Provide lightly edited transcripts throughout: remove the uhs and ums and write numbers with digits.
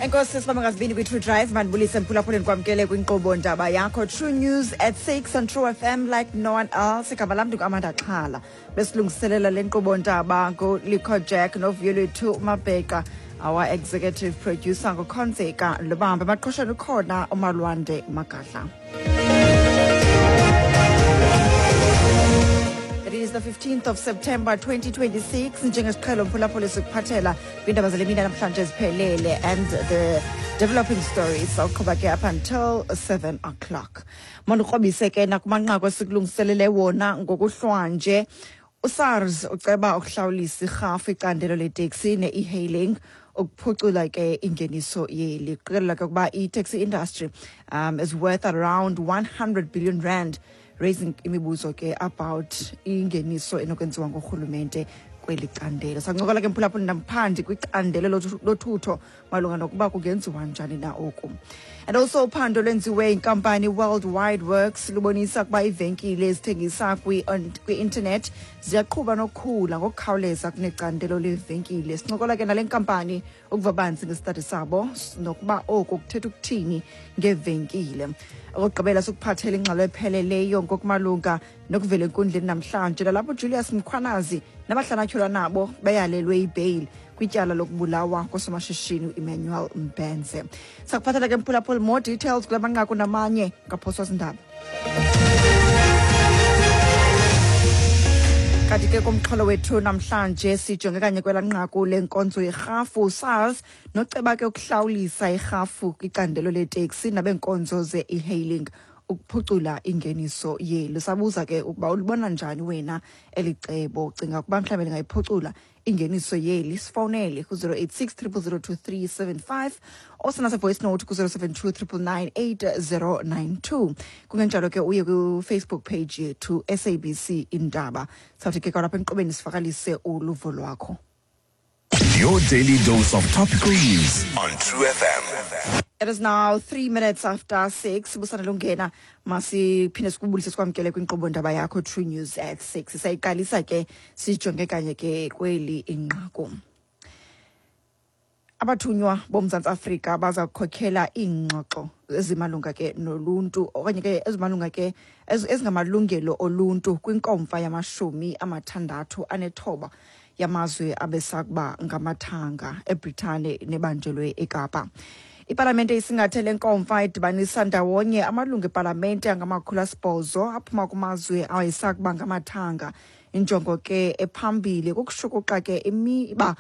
Enkosi sibamba ngazibini kwi-True Drive. Mandibulise mphulaphuleni, kwamkele kwinkqubo ndaba yakho True News at 6 on True FM like no one else. Igama lam ndinguAmanda Xhala. Besilungiselela le nkqubo ndaba nguLikho Jack novuyo lwethu uMabheka, our executive producer nguKhonzeka Lubambe, emaqhosheni ukhona uMalwande Magadla. It is the 15th of September 2026. Njengesiqhelo mphulaphuli, sikuphathela kwiindaba zale mini namhlanje ziphelele and the developing stories. Sawuqhuba ke up until 7 o'clock. Mandikrobise ke nakumanqaku esikulungiselele wona ngokuhlwanje. USARS uceba ukuhlawulisa irhafu icandelo leteksi ne-e-hailing ukuphucula ke ingeniso yeli. Kuqikelela ke ukuba i-taxi industry is worth around R100 billion, raising imibuzo ke about ingeniso enokwenziwa ngurhulumente kweli candelo. Sancokola ke mphulaphuli namphandi kwicandelo lothutho malunga nokuba kungenziwa njani na oku. And also, uphando lwenziwe inkampani Worldwide Works lubonisa ukuba iivenkile ezithengisa kwi-internet ziyaqhuba nokukhula ngokukhawuleza kunecandelo leevenkile. Sincokola ke nale nkampani ukuva banzi ngesitadi sabo nokuba oku kuthetha ukuthini ngeevenkile. Okokugqibela, sikuphathela ingxelo epheleleyo ngokumalunga nokuvela enkundleni namhlanje, nalapho Julius Mkhwanazi nabahlanu atyholwa nabo beyalelwe ibheyili kwityala lokubulawa kosomashishini uEmmanuel Mbense. Sakuphathela ke mphulaphuli more details kula manqaku namanye, ngaphoswa zindaba. Kanti ke kumxholo wethu namhlanje sijonge kanye kwela nqaku lenkonzo yerhafu, SARS noceba ke ukuhlawulisa irhafu kwicandelo leteksi nabenkonzo ze-e-hailing ukuphucula ingeniso yeli. Sabuza ke ukuba ulibona njani wena eli cebo, ucinga ukuba mhlawumbe lingayiphucula ingeniso yeli. Sifowunele ku-086 0002375 osana voice note ku-072 999 8092. Kungenjalo ke uye kwi-Facebook page yethu, SABC Indaba. Sawuthi ke kwalapha enkqubeni sivakalise uluvo lwakho. Your daily dose of topical news on True FM. It is now 6:03. Busana lungena, masiphinde sikubulise, sikwamkele kwinkqubo ndaba yakho True News at 6. Sayiqalisa ke sijonge kanye ke kweli inqaku. Abathunywa boMzantsi Afrika baza kukhokhela iingxoxo ezimalunga ke noluntu okanye ke ezimalunga ke ezingamalungelo oluntu kwinkomfa yama-69 yamazwe abesakuba ngamathanga eBritane nebanjelwe eKapa. Ipalamente isingathe le nkomfa idibanisa ndawonye amalungu epalamente angama-800 aphuma kumazwe awayesakuba ngamathanga. Injongo ke ephambili kukushukuxa ke imiba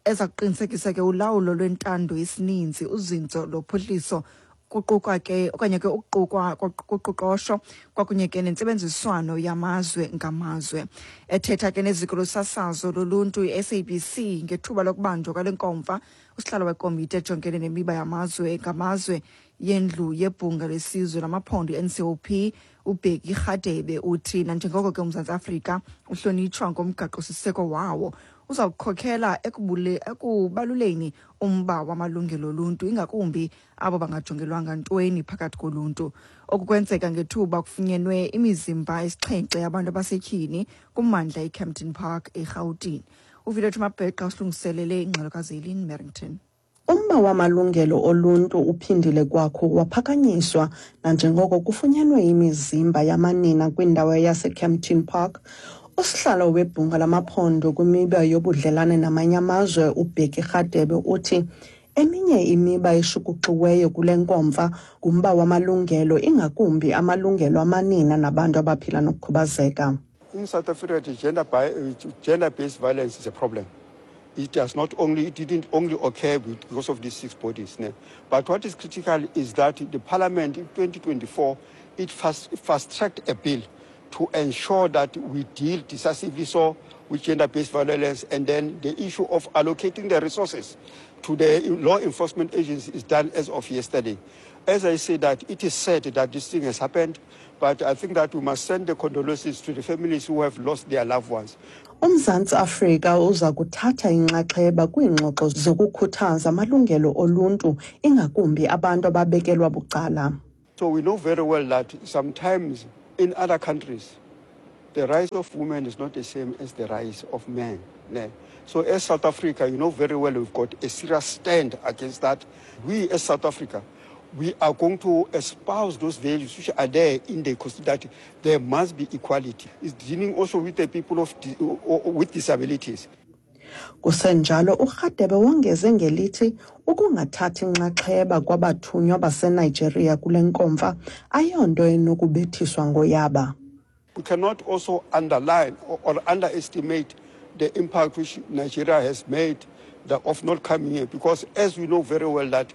eza kuqinisekisa ke ulawulo lwentando yesininzi, uzinzo lophuhliso, kuqukwa ke okanye ke ukuqukwa kuqoqosho kwakunye ke nentsebenziswano yamazwe ngamazwe. Ethetha ke neziko losasazo loluntu i-SABC ngethuba lokubanjwa kwale nkomfa, usihlalo wekomiti ejongene nemiba yamazwe ngamazwe yendlu yebhunga lesizwe lamaphondo i-NCOP, uBheki Rhadebe, uthi nanjengoko ke uMzantsi Afrika uhlonitshwa ngomgaqo-siseko wawo, uza kukhokhela ekubaluleni umba wamalungelo oluntu, ingakumbi abo bangajongelwanga ntweni phakathi koluntu. Oku kwenzeka ngethuba kufunyenwe imizimba esixhenxe yabantu abasetyhini kummandla iKempton Park eRhawutini. UVilethu Mabheqa usilungiselele ingxelo kaZelin Merrington. Umba wamalungelo oluntu uphindile kwakho waphakanyiswa nanjengoko kufunyanwe imizimba yamanina kwindawo yaseKempton Park. Usihlalo webhunga lamaphondo kwimiba yobudlelane namanye amazwe, uBheki Rhadebe, uthi eminye imiba eshukuxiweyo kule nkomfa ngumba wamalungelo, ingakumbi amalungelo amanina nabantu abaphila nokukhubazeka. In South Africa, the gender-based violence is a problem. It does not only, it didn't only occur because of these six bodies. Ne? But what is critical is that the parliament in 2024, it fast-tracked a bill to ensure that we deal decisively so with gender-based violence, and then the issue of allocating the resources to the law enforcement agency is done as of yesterday. As I say that, it is sad that this thing has happened, but I think that we must send the condolences to the families who have lost their loved ones. UMzantsi Afrika uza kuthatha inxaxheba kwiingxoxo zokukhuthaza amalungelo oluntu, ingakumbi abantu ababekelwa bucala. So we know very well that sometimes in other countries, the rights of women is not the same as the rights of men. Ne? So as South Africa, you know very well we've got a serious stand against that. We as South Africa, we are going to espouse those values which are there in the constitution that there must be equality. It's dealing also with the people of with disabilities. Kusenjalo uRhadebe wongeze ngelithi ukungathathi nxaxheba kwabathunywa baseNigeria kule nkomfa ayonto enokubethiswa ngoyaba. We cannot also underline or, or underestimate the impact which Nigeria has made the, of not coming here because as we know very well that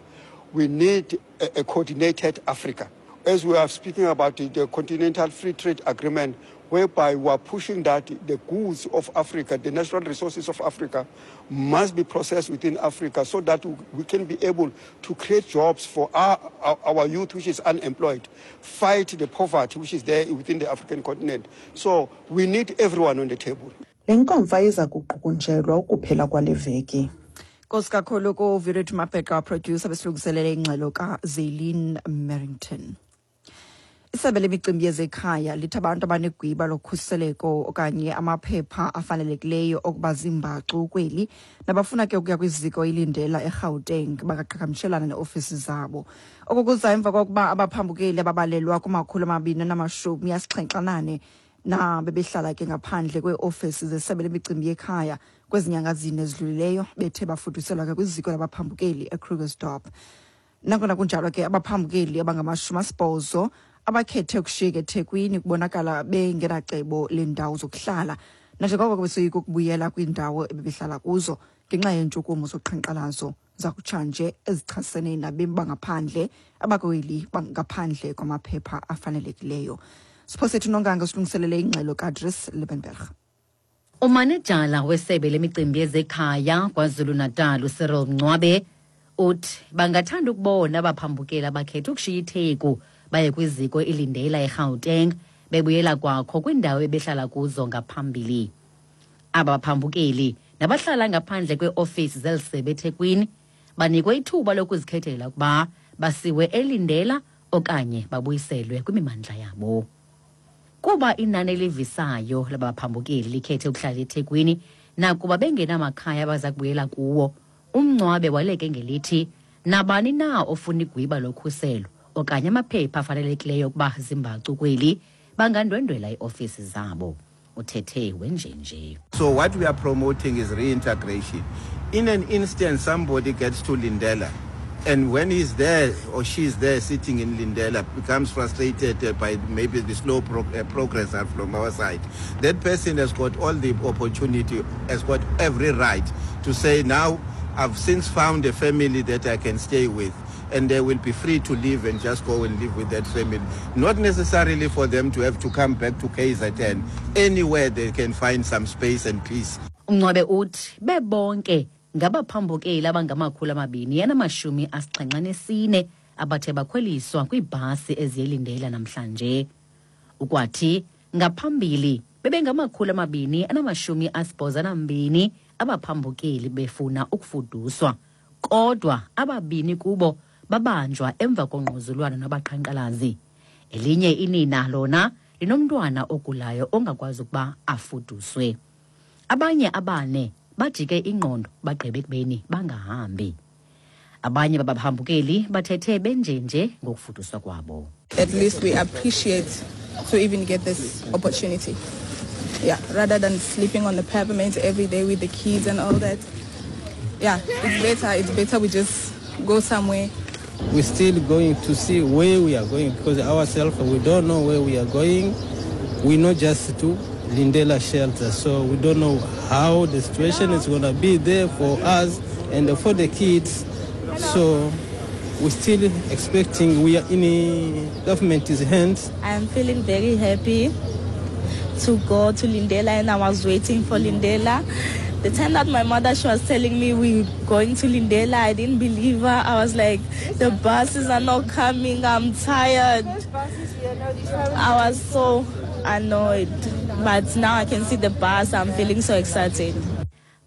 we need a, a coordinated Africa. As we are speaking about the, the Continental Free Trade Agreement, whereby we are pushing that the goods of Africa, the natural resources of Africa, must be processed within Africa so that we can be able to create jobs for our, our, our youth which is unemployed, fight the poverty which is there within the African continent. So we need everyone on the table. Le nkomfa iza kuqukunjelwa ukuphela kwale veki. Nkosi kakhulu kuvirethu Mabheqa producer besilungiselele ingxelo kaZelin Merrington. Isebe lemicimbi yezekhaya lithi abantu abanegwiba lokhuseleko okanye amaphepha afanelekileyo okuba ziimbacu kweli nabafuna ke ukuya kwiziko ilindela eGauteng bakaqhagamshelana neofisi zabo. Oku kuza emva kokuba abaphambukeli ababalelwa kuma-274 na bebehlala ke ngaphandle kweeofisi zesebe lemicimbi yekhaya kwezi nyanga zine ezidlulileyo bethe bafuduselwa ke kwiziko labaphambukeli eKrugersdorp. Nangona kunjalo ke abaphambukeli abangama-80 abakhethe ukushiyeka eThekwini kubonakala bengenacebo leendawo zokuhlala nanjengoko besoyika ukubuyela kwiindawo ebebehlala kuzo ngenxa yeentshukumo zoqhankqalazo zakutshanje ezichasene nabemi bangaphandle abakweli ngaphandle kwamaphepha afanelekileyo. Siphosethu Nonganga silungiselele ingxelo kaDries Liebenberg. Umanejala wesebe lemicimbi yezekhaya KwaZulu-Natal uCyril Mncwabe uthi bangathanda ukubona abaphambukeli abakhetha ukushiya iTheku baye kwiziko ilindela eGauteng bebuyela kwakho kwiindawo ebehlala kuzo ngaphambili. Aba baphambukeli nabahlala ngaphandle kweeofisi zeli sebe eThekwini banikwe ithuba lokuzikhethela ukuba basiwe elindela okanye babuyiselwe kwimimandla yabo. Kuba inani elivisayo labaphambukeli likhethe ukuhlala eThekwini nakuba bengenamakhaya abaza kubuyela kuwo, umncwabe waleke ngelithi nabani na ofuna igwiba lokhuselo okanye amaphepha afanelekileyo ukuba zimbacu kweli bangandwendwela iiofisi zabo. Uthethe wenjenje. So what we are promoting is reintegration. In an instant, somebody gets to Lindela, and when he's there or she's there sitting in Lindela, becomes frustrated by maybe the slow progress from our side. That person has got all the opportunity, has got every right to say, now I've since found a family that I can stay with. And they will be free to leave and just go and live with that family. Not necessarily for them to have to come back to KZN. Anywhere they can find some space and peace. Umncwabe uthi bebonke ngabaphambukeli abangama-274 abathe bakhweliswa kwiibhasi eziyelindela namhlanje. Ukwathi ngaphambili bebengama-282 abaphambukeli befuna ukufuduswa, kodwa ababini kubo babanjwa emva kongquzulwano nabaqhankqalazi. Elinye inina lona linomntwana ogulayo ongakwazi ukuba afuduswe. Abanye abane bajike ingqondo bagqibe ekubeni bangahambi. Abanye babaphambukeli bathethe benjenje ngokufuduswa kwabo. At least we appreciate to even get this opportunity. Yeah, rather than sleeping on the pavement every day with the kids and all that. Yeah, it's better. It's better we just go somewhere. We're still going to see where we are going because ourselves, we don't know where we are going. We know just to Lindela shelter, so we don't know how the situation is going to be there for us and for the kids. So we're still expecting, we are in the government's hands. I'm feeling very happy to go to Lindela, and I was waiting for Lindela. The time that my mother, she was telling me we're going to Lindela, I didn't believe her. I was like, the buses are not coming, I'm tired. I was so annoyed. But now I can see the bus, I'm feeling so excited.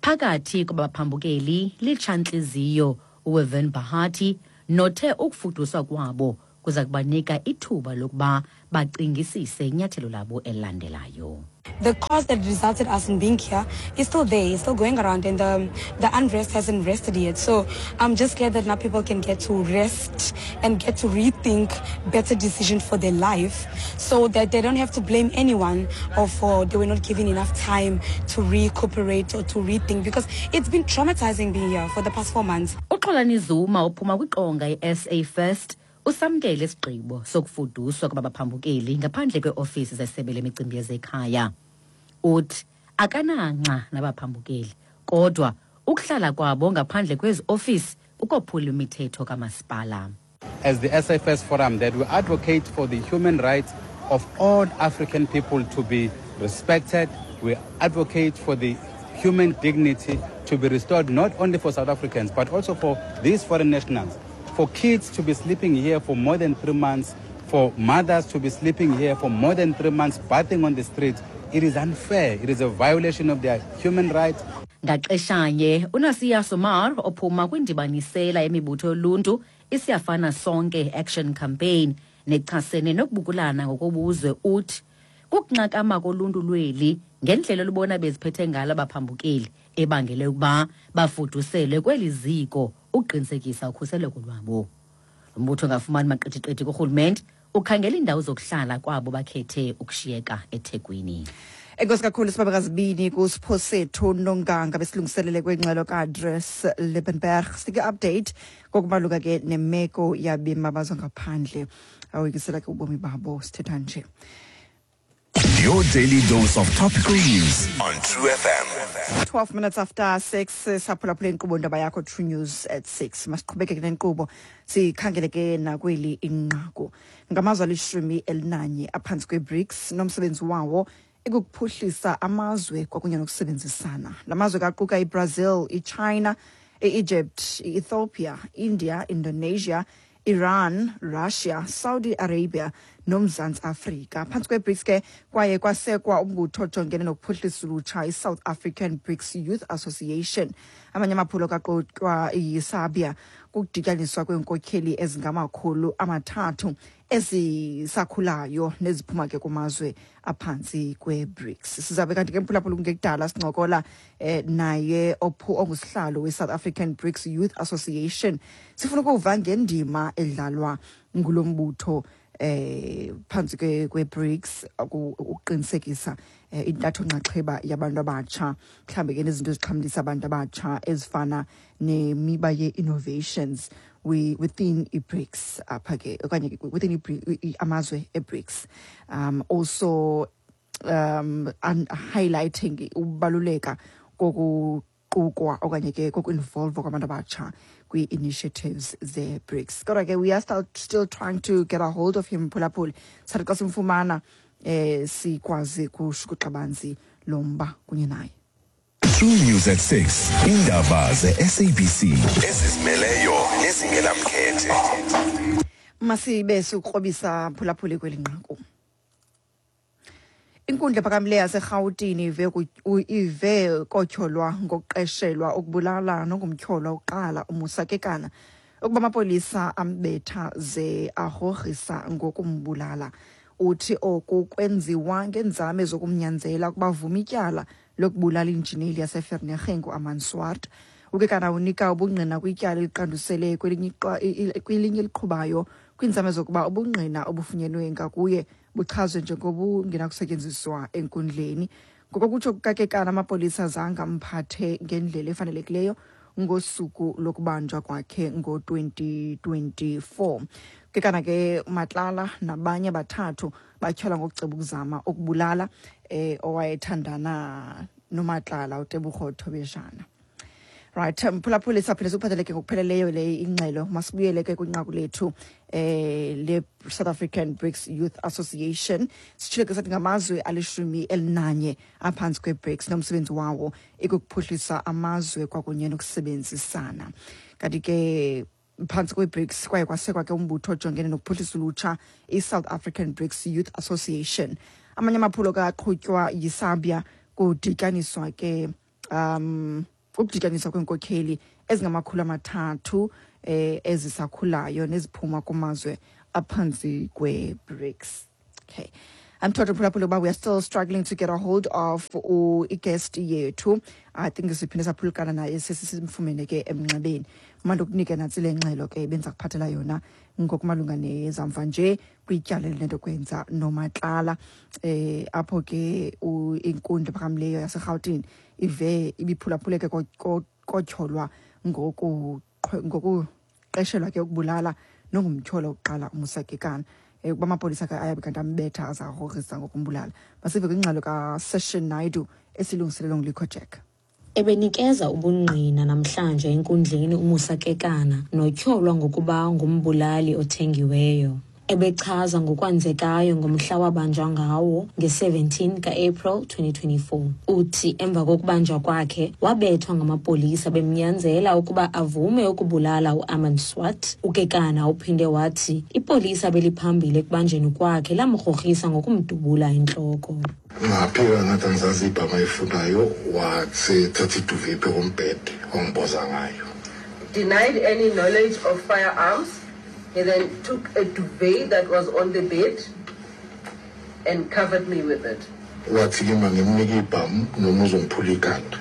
Phakathi kwabaphambukeli litshantliziyo uWeven Bahati nothe ukufuduswa kwabo kuza kubanika ithuba lokuba bacingisise inyathelo labo elilandelayo. The cause that resulted us in being here is still there, it's still going around, and the unrest hasn't rested yet. So I'm just glad that now people can get to rest and get to rethink better decisions for their life, so that they don't have to blame anyone or for they were not given enough time to recuperate or to rethink, because it's been traumatizing being here for the past 4 months. UXolani Zuma uphuma kwiqonga i-SA First usamkele isigqibo sokufuduswa kwabaphambukeli ngaphandle kweofisi zesebe lemicimbi yezekhaya. Uthi akananxa nabaphambukeli, kodwa ukuhlala kwabo ngaphandle kwezi ofisi kukophula imithetho kamasipala. As the SFS Forum, that we advocate for the human rights of all African people to be respected. We advocate for the human dignity to be restored, not only for South Africans, but also for these foreign nationals. For kids to be sleeping here for more than 3 months, for mothers to be sleeping here for more than 3 months, bathing on the streets, it is unfair. It is a violation of their human rights. Ngaxeshanye, uNasia Sumar ophuma kwindibanisela yemibutho yoluntu iSiyafana Sonke Action Campaign nechasene nokubukulana ngokobuzwe uthi kukunxakama koluntu lweli ngendlela olubona beziphethe ngalo abaphambukeli ebangele ukuba bafuduselwe kweli ziko ukuqinisekisa ukhuseleko lwabo. Lo mbutho ongafumani maqithiqithi kurhulumente ukhangela iindawo zokuhlala kwabo bakhethe ukushiyeka eThekwini. Enkosi kakhulu, sibabekazibini kuSiphosethu Nonganga besilungiselele kwengxelo kaAdres Liebenberg. Sike update ngokubaluka ke nemeko yabemi bamazwe ngaphandle awoyikisela ke ubomi babo sithetha nje. Your daily dose of topical news on True FM. 12 minutes after 6, saphulaphula inkqubo Ndaba Yakho, True News at 6. Masiqhubeke ke nenkqubo, sikhangele ke nakweli inqaku. Ngamazwe ali-11 aphantsi kwe-BRICS nomsebenzi wawo ekukuphuhlisa amazwe kwakunye nokusebenzisana. La mazwe kaquka iBrazil, iChina, i-Egypt, i-Ethiopia, India, Indonesia, Iran, Russia, Saudi Arabia noMzantsi Afrika. Phantsi kwe-BRICS ke kwaye kwasekwa umbutho ojongene nokuphuhlisa ulutsha, i-South African BRICS Youth Association. Amanye amaphulo kaqotywa yiSABIA kukudityaniswa kweenkokheli ezingama-300 ezisakhulayo neziphuma ke kumazwe aphantsi kwe-BRICS. Sizabe kanti ke, mphulaphula, kungekudala sincokola naye ophu ongusihlalo we-South African BRICS Youth Association. Sifuna ukuva ngendima edlalwa ngulo mbutho phantsi kwe-BRICS ukuqinisekisa intatho nxaxheba yabantu abatsha, mhlawumbi ke nezinto ezixhamlisa abantu abatsha ezifana nemiba ye-innovations within i-BRICS apha ke okanye ke within amazwe e-BRICS, also and highlighting ukubaluleka kokuqukwa okanye ke koku-involve kwabantu abatsha kwii-initiatives ze-BRICS. Kodwa ke we are still trying to get a hold of him, phulaphuli. Sathi xa simfumana sikwazi kushukuxa banzi lo mba kunye naye. True News at 6. Indaba ze-SABC ezizimeleyo nezingenamkhethe. Masibe sikrobisa, phulaphuli, kweli nqaku. Inkundla ephakamileyo yaseRhawutini ive kotyholwa ngokuqeshelwa ukubulala nongumtyholwa uqala uMusa Kekana ukuba amapolisa ambetha ze agrogrisa ngokumbulala. Uthi oku kwenziwa ngeenzame zokumnyanzela ukuba avume ityala lokubulala injineli yaseVereeniging uArmand Swart. UKekana unika ubungqina kwityala eliqandusele kwelinye eliqhubayo kwiinzame zokuba ubungqina obufunyenwe ngakuye buchazwe njengobungenakusetyenziswa enkundleni. Ngokokutsho kukaKekana, amapolisa zange amphathe ngendlela efanelekileyo ngosuku lokubanjwa kwakhe ngo-2024. Kekana ke, Matlala nabanye abathathu batyholwa ngokuceba ukuzama ukubulala owayethandana noMatlala, uTebogo Thobejane. Right, mphulaphuli, saphinde sikuphatheleke ngokupheleleyo le ingxelo. Masibuyele ke kwinqaku lethu le South African BRICS Youth Association. Sitshile ke sathi ngamazwe ali-11 aphantsi kwe-BRICS nomsebenzi wawo ikukuphuhlisa amazwe kwakunye nokusebenzisana. Kanti ke phantsi kwe-BRICS kwaye kwasekwa ke umbutho ojongene nokuphuhlisa ulutsha, i-South African BRICS Youth Association. Amanye amaphulo kaqhutywa yiSABIA kudityaniswa ke ukudityaniswa kweenkokheli ezingama-300 ezisakhulayo neziphuma kumazwe aphantsi kwe-BRICS. Okay. I'm told, mphulaphuli, uba we are still struggling to get a hold of i-guest yethu. I think siphinde saphulukana naye, sesisimfumene ke emnxebeni. Manje ukunike nantsi le ngxelo ke benza kuphathela yona ngokumalunga nezamva nje kwityala elinento kwenza noMatlala, apho ke inkundla ephakamileyo yaseRhawutini ive ibiphulaphuleke kotyholwa ngokuqeshelwa ke ukubulala nongumtyholo wokuqala uMusa Kekana, ukuba amapolisa ke ayabe kanti ambetha azagrogrisa ngokumbulala. Masive kwingxelo kaSession Naidu esilungiselelwe nguLikho Jack. Ebenikeza ubungqina namhlanje enkundleni uMusa Kekana notyholwa ngokuba ngumbulali othengiweyo. Ebechaza ngokwenzekayo ngomhla wabanjwa ngawo nge-17 ka-April 2024. Uthi emva kokubanjwa kwakhe wabethwa ngamapolisa bemnyanzela ukuba avume ukubulala uArmand Swart. UKekana uphinde wathi ipolisa beliphambili ekubanjweni kwakhe lamgrogrisa ngokumdubula entloko. Ngaphika ngathi angizazi ibhama ayifunayo, wasethatha i-duvet phezu kombhede wangiboza ngayo. Denied any knowledge of firearms. He then took a duvet that was on the bed and covered me with it. Wathi kimi angimnike ibhamu noma uzongiphula ikhanda.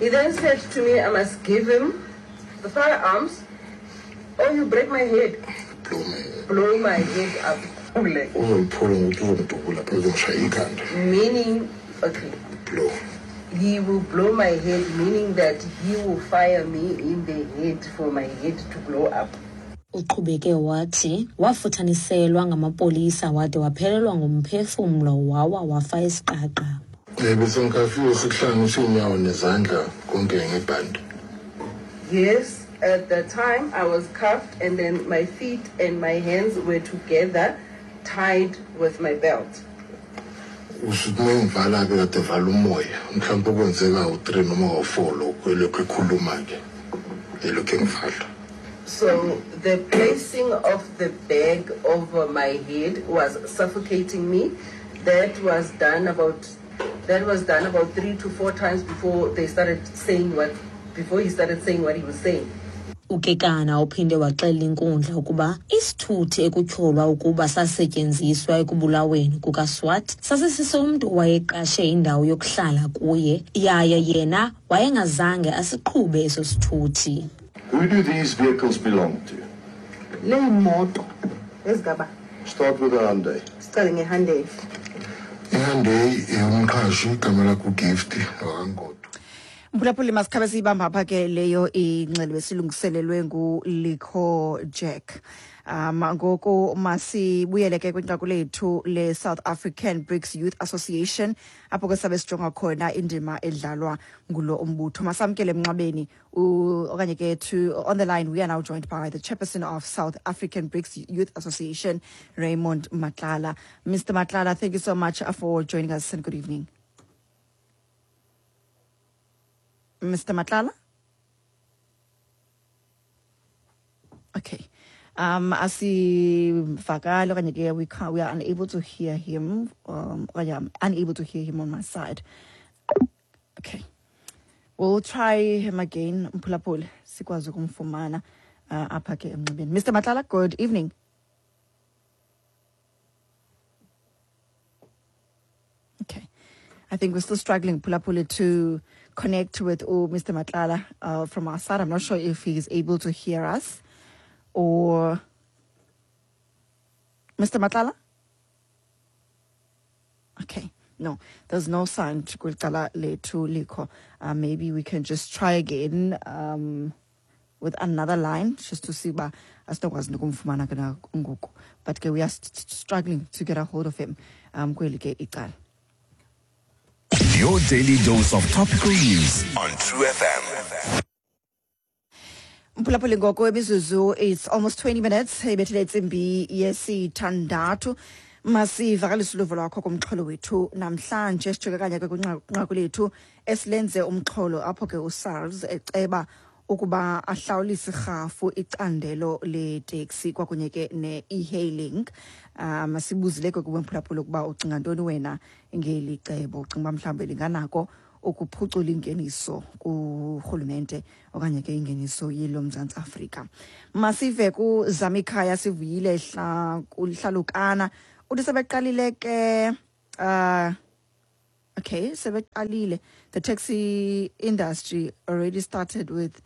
He then said to me I must give him the firearms or you break my head. Blow my head. Blow my head up. Uzongiphula ngokuthi uzongidubula phela, uzongishaya ikhanda. Meaning, okay. Blow. He will blow my head, meaning that he will fire me in the head for my head to blow up. Uqhubeke wathi wafuthaniselwa ngamapolisa wade waphelelwa ngumphefumlo, wawa wafa isiqaqa. Bese ngikhafiwe, sikuhlanganisa iy'nyawo nezandla konke ngebhande. Yes, at the time I was cuffed and then my feet and my hands were together tied with my belt. Usuthi uma ngivala-ke kade vala umoya, mhlawumpe kwenzeka u-3 noma u-4 lokhu elokhu ekhuluma-ke elokhu engivala. So the placing of the bag over my head was suffocating me. That was done about 3 to 4 times before he started saying what he was saying. UKekana uphinde waxelela inkundla ukuba isithuthi ekutyholwa ukuba sasetyenziswa ekubulaweni kukaSwart sasisisomntu owayeqashe indawo yokuhlala kuye, yaye yena wayengazange asiqhube eso sithuthi. Who do these vehicles belong to? Le moto ezigaba. Start with the Hyundai. Sicale ngeHyundai. IHyundai eyomqhashi, igama lakho uGift wakaNgodo. Mphulaphuli, masikhabe siyibamba apha ke leyo ingxelo esilungiselelwe nguLikho Jack. Ngoku masibuyele ke kwinqaku lethu le-South African BRICS Youth Association, apho ke sabe sijonga khona indima edlalwa ngulo umbutho. Masamkele emnxebeni okanye ke to on the line, we are now joined by the chairperson of South African BRICS Youth Association, Raymond Matlala. Mr. Matlala, thank you so much for joining us and good evening. Mr. Matlala? Okay. Asivakali okanye ke we can't, we are unable to hear him. Okanye I'm unable to hear him on my side. Okay. We'll try him again, mphulaphuli, sikwazi ukumfumana apha ke emnxebeni. Mr. Matlala, good evening. Okay. I think we're still struggling, mphulaphuli, to connect with Mr. Matlala from our side. I'm not sure if he's able to hear us or Mr. Matlala? Okay. No, there's no sound kwicala lethu likho. Maybe we can just try again with another line just to see uba asinokwazi nokumfumana ke na ngoku. But ke we are struggling to get a hold of him kweli ke icala. Your daily dose of topical news on True FM. Mphulaphuli, ngoko imizuzu, it's almost 20 minutes ibethile intsimbi yesithandathu. Masivakalise uluvo lwakho kumxholo wethu namhlanje. Sijonge kanye ke kwinqaku lethu esilenze umxholo, apho ke uSARS eceba ukuba ahlawulise irhafu icandelo leteksi kwakunye ke ne-e-hailing. Sibuzile ke kuwe mphulaphula ukuba ucinga ntoni wena ngeli cebo. Ucinga uba mhlawumbi linganako ukuphucula ingeniso kurhulumente okanye ke ingeniso yelo Mzantsi Afrika? Masive kuZamikhaya Sivuyile Hlalukana. Uthi sebeqalile ke, okay, sebeqalile. The taxi industry already started with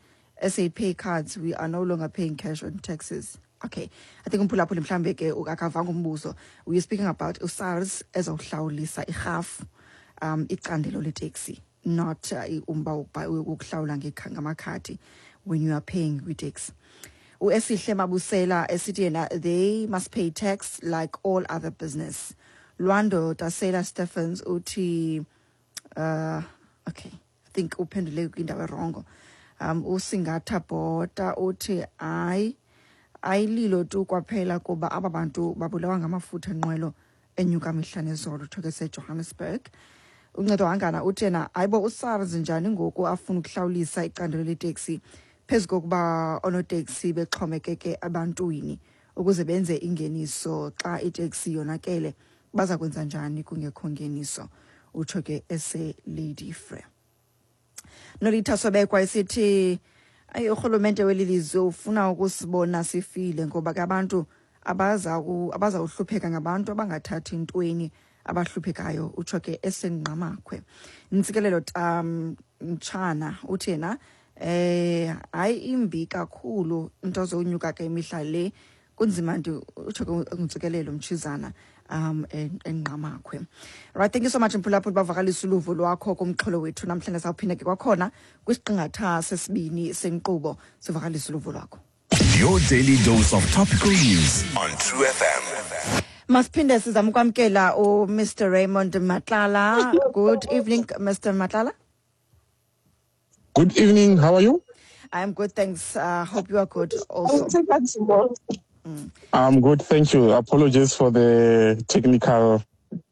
SA Pay cards. We are no longer paying cash on taxes. Okay, I think umphulaphuli mhlambe ke akavanga umbuzo. We are speaking about uSARS ezawuhlawulisa irhafu icandelo leteksi, not umba wokuhlawula ngamakhadi when you are paying kwiteksi. USihle Mabusela esithi yena they must pay tax like all other business. Lwando Tasela Stephens uthi, okay, I think uphendule kwindawo erongo. USingatha Bhota uthi hayi, ayililo tu kwaphela kuba aba bantu babulawa ngamafutha enqwelo enyuka mihla nezolo, utsho ke seJohannesburg. Uncedo Hangana uthi yena hayibo, uSARS njani ngoku afuna ukuhlawulisa icandelo leteksi phezu kokuba oonoteksi bexhomekeke ebantwini ukuze benze ingeniso? Xa iteksi yonakele baza kwenza njani kungekho ngeniso? Utsho ke ese-Lady Frere. Nolitha Sobekwa esithi ayi, urhulumente weli lizwe ufuna ukusibona sifile, ngoba ke abantu abazawuhlupheka ngabantu abangathathi ntweni abahluphekayo, utsho ke eseNgqamakhwe. Ntsikelelo Mtshana uthi yena hayi, imbi kakhulu into zonyuka ke imihla le, kunzima nti, utsho ke uNtsikelelo Mtshizana eNgqamakhwe. Right, thank you so much mphulaphuli, bavakalisa uluvo lwakho kumxholo wethu namhlanje. Sawuphinda ke kwakhona kwisiqingatha sesibini senkqubo sivakalisa uluvo lwakho. Your daily dose of topical news on True FM. Masiphinde sizama ukwamkela uMr Raymond Matlala. Good evening, Mr Matlala. Good evening. How are you? I'm good, thanks. Hope you are good also. I'm good, thank you. Apologies for the technical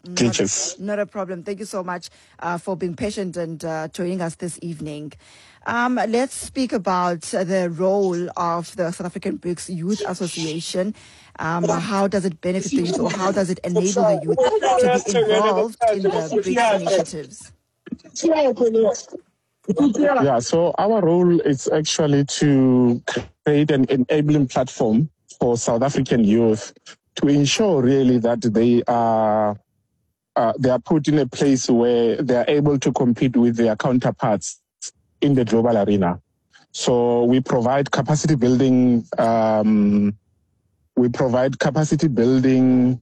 glitches. Not a problem. Thank you so much for being patient and joining us this evening. Let's speak about the role of the South African BRICS Youth Association. How does it benefit the youth, or how does it enable the youth to be involved in the BRICS initiatives? Yeah, so our role is actually to create an enabling platform for South African youth to ensure really that they are put in a place where they are able to compete with their counterparts in the global arena. So we provide capacity building. We provide capacity building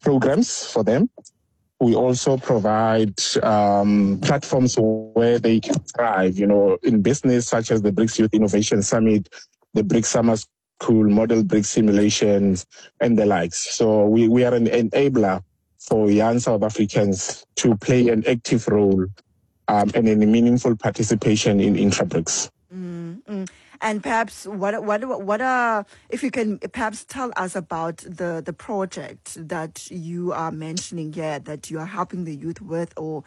programs for them. We also provide platforms where they can thrive, in business, such as the BRICS Youth Innovation Summit, the BRICS Summer School, Model BRICS Simulations, and the likes. So we are an enabler for young South Africans to play an active role and in a meaningful participation in intra-BRICS. Mm-hmm. And perhaps what are, if you can perhaps tell us about the project that you are mentioning here, that you are helping the youth with, or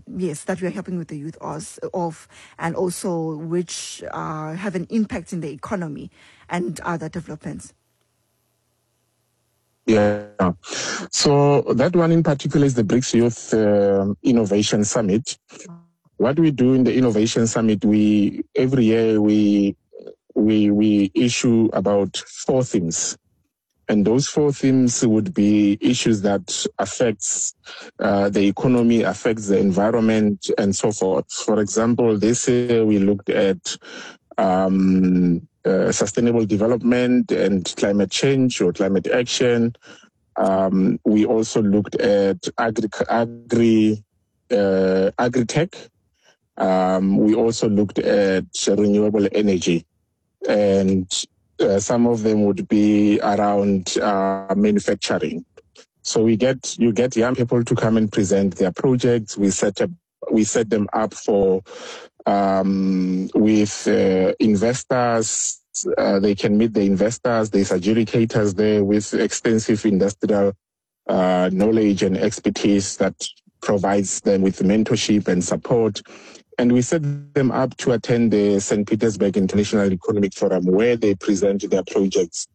yes, that you are helping with the youth of, and also which have an impact in the economy and other developments. Yeah. So that one in particular is the BRICS Youth Innovation Summit. What we do in the Innovation Summit, we every year we issue about 4 themes. And those 4 themes would be issues that affects the economy, affects the environment, and so forth. For example, this year we looked at sustainable development and climate change or climate action. We also looked at agri-tech. We also looked at renewable energy, and some of them would be around manufacturing. So you get young people to come and present their projects. We set them up for with investors. They can meet the investors. There's adjudicators there with extensive industrial knowledge and expertise that provides them with mentorship and support. And we set them up to attend the St. Petersburg International Economic Forum, where they present their projects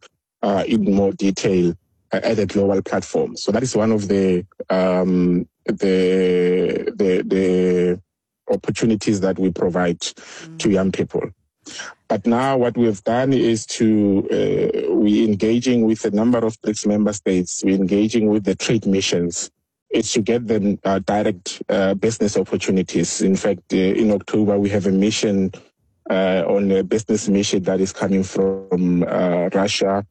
in more detail at a global platform. So that is one of the opportunities that we provide to young people. But now what we've done is to, we're engaging with a number of BRICS member states, we're engaging with the trade missions. It's to get them direct business opportunities. In fact, in October, we have a mission on a business mission that is coming from Russia.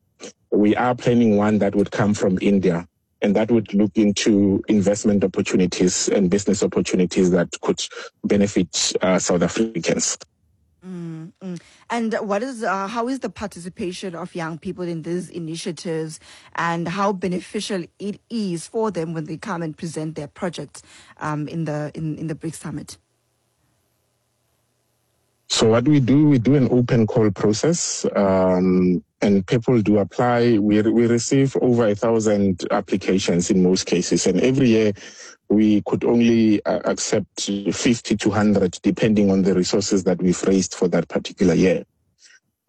We are planning one that would come from India, and that would look into investment opportunities and business opportunities that could benefit South Africans. And how is the participation of young people in these initiatives, and how beneficial it is for them when they come and present their projects in the BRICS Summit? So what we do an open call process, and people do apply. We receive over 1,000 applications in most cases, and every year we could only accept 50 to 100, depending on the resources that we've raised for that particular year.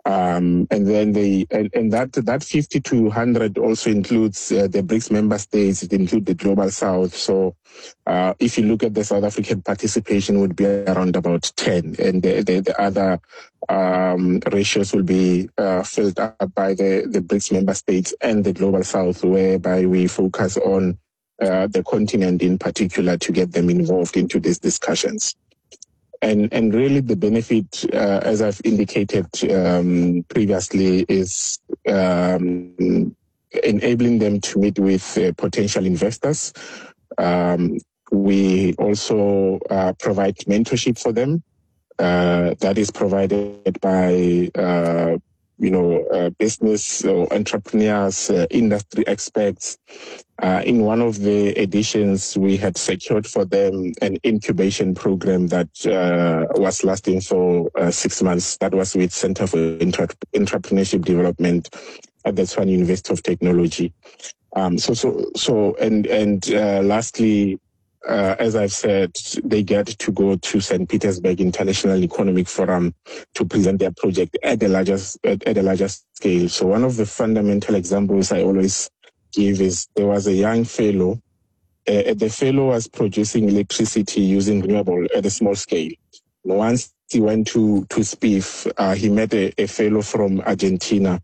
And then that 50 to 100 also includes the BRICS member states. It includes the Global South. So if you look at the South African participation, would be around about 10, and the other ratios will be filled up by the BRICS member states and the Global South, whereby we focus on the continent in particular to get them involved into these discussions. And really the benefit, as I've indicated previously, is enabling them to meet with potential investors. We also provide mentorship for them. That is provided by business or entrepreneurs, industry experts. In one of the editions, we had secured for them an incubation program that was lasting for 6 months. That was with Center for Entrepreneurship Development at the Tshwane University of Technology. Lastly, as I've said, they get to go to St. Petersburg International Economic Forum to present their project at a larger scale. So one of the fundamental examples I always give is there was a young fellow. The fellow was producing electricity using renewable at a small scale. Once he went to SPIF, he met a fellow from Argentina,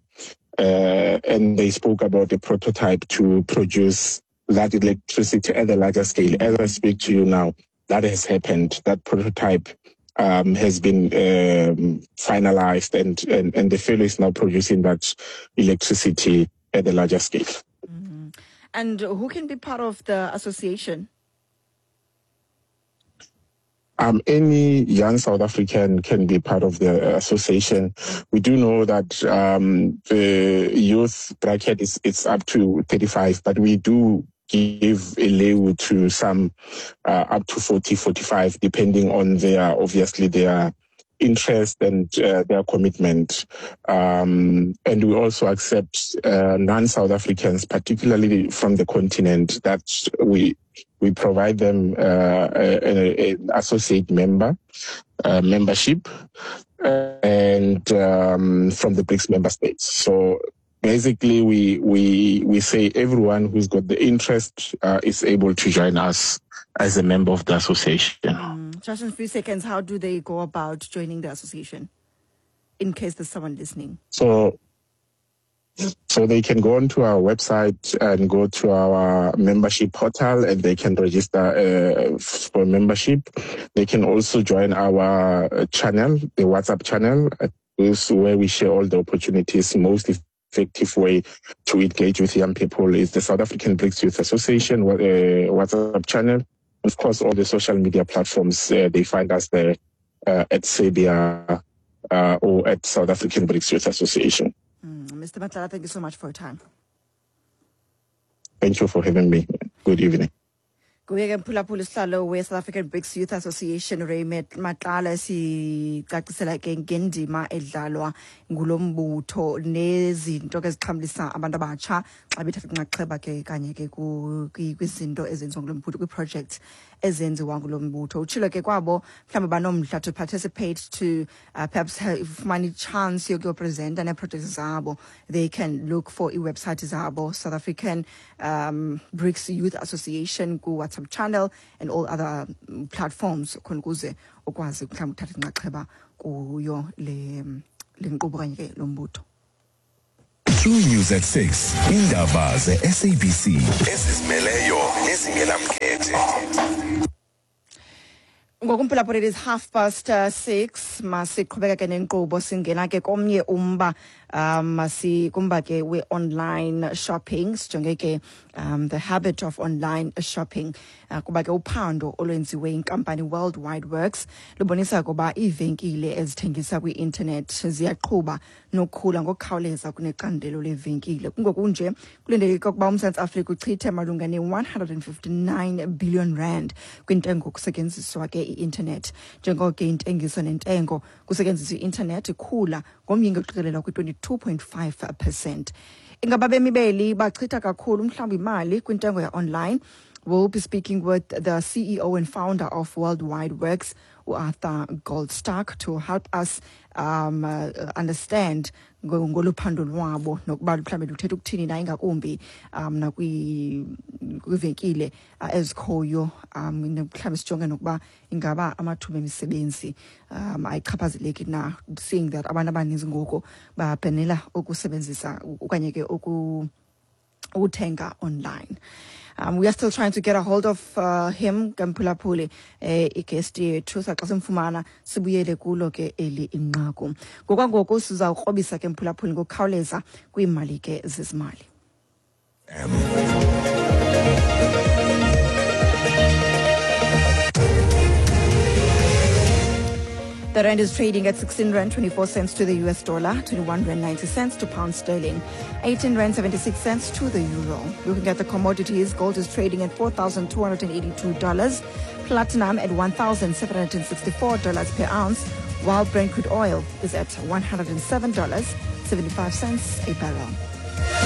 and they spoke about a prototype to produce that electricity at a larger scale. As I speak to you now, that has happened. That prototype has been finalized, and the fellow is now producing that electricity at a larger scale. Mm-hmm. And who can be part of the association? Any young South African can be part of the association. We do know that the youth bracket is it's up to 35, but we do give a leeway to some up to 40, 45, depending on their interest and their commitment. And we also accept non-South Africans, particularly from the continent, that we provide them an associate member membership, and from the BRICS member states. So basically, we say everyone who's got the interest is able to join us as a member of the association. Just in a few seconds, how do they go about joining the association, in case there's someone listening? So they can go onto our website and go to our membership portal, and they can register for membership. They can also join our channel, the WhatsApp channel, is where we share all the opportunities. Most effective way to engage with young people is the South African BRICS Youth Association WhatsApp channel. Of course, all the social media platforms, they find us there at SABIA or at South African BRICS Youth Association. Mr. Matlala, thank you so much for your time. Thank you for having me. Good evening. Kuye ke mphulaphula isihlalo we-South African BRICS Youth Association Ray Matlala sicacisela ke ngendima edlalwa ngulo mbutho nezinto ke zixhamlisa abantu abatsha xa bethatha inxaxheba ke kanye ke kwizinto ezenziwa ngulo mbutho, kwi-projects ezenziwa ngulo mbutho. Utshilo ke kwabo mhlawumbi banomdla to participate, to perhaps fumana i-chance yokuyopresenta nee-projects zabo, they can look for i-website zabo, South African BRICS Youth Association ku-WhatsApp channel and all other platforms, khona ukuze ukwazi mhlawumbi uthatha inxaxheba kuyo le Le nkqubo kanye ke lo mbutho. True News at 6. Indaba ze-SABC ezizimeleyo nezingenamkhethe. Ngokumphulaphula, it is 6:30. Masiqhubeka ke nenkqubo, singena ke komnye umba, masikumba ke we-online shopping. Sijonge ke the habit of online shopping, kuba ke uphando olwenziwe inkampani Worldwide Works lubonisa ukuba iivenkile ezithengisa kwi-intanethi ziyaqhuba nokukhula ngokukhawuleza kunecandelo levenkile. Kungokunje kulindeleke ukuba uMzantsi Afrika uchithe malunga ne-159 billion rand kwintengo kusetyenziswa ke i-intanethi, njengoko ke intengiso nentengo kusetyenziswa i-intanethi ikhula ngomyinge oqikelelwa kwi-22.5%. Ingaba bemi beli bachitha kakhulu mhlawumbi imali kwintengo ya-online? We'll be speaking with the CEO and founder of Worldwide Works, Arthur Goldstuck, to help us understand ngolu phando lwabo nokuba mhlawumbi luthetha ukuthini na, ingakumbi nakwiivenkile ezikhoyo, mhlawumbi sijonge nokuba ingaba amathuba emisebenzi ayichaphazeleki na, seeing that abantu abaninzi ngoku babhenela ukusebenzisa okanye ke ukuthenga online. We are still trying to get a hold of him, Mphulaphuli, i-guest yethu. Saxa simfumana sibuyele kulo ke eli inqaku. Ngokwangoku sizawukrobisa ke, mphulaphuli, ngokukhawuleza kwiimali ke zezimali. The rand is trading at 16 rand 24 cents to the US dollar, 21 rand 90 cents to pound sterling, 18 rand 76 cents to the euro. Looking at the commodities, gold is trading at $4,282, platinum at $1,764 per ounce, while Brent crude oil is at $107.75 a barrel.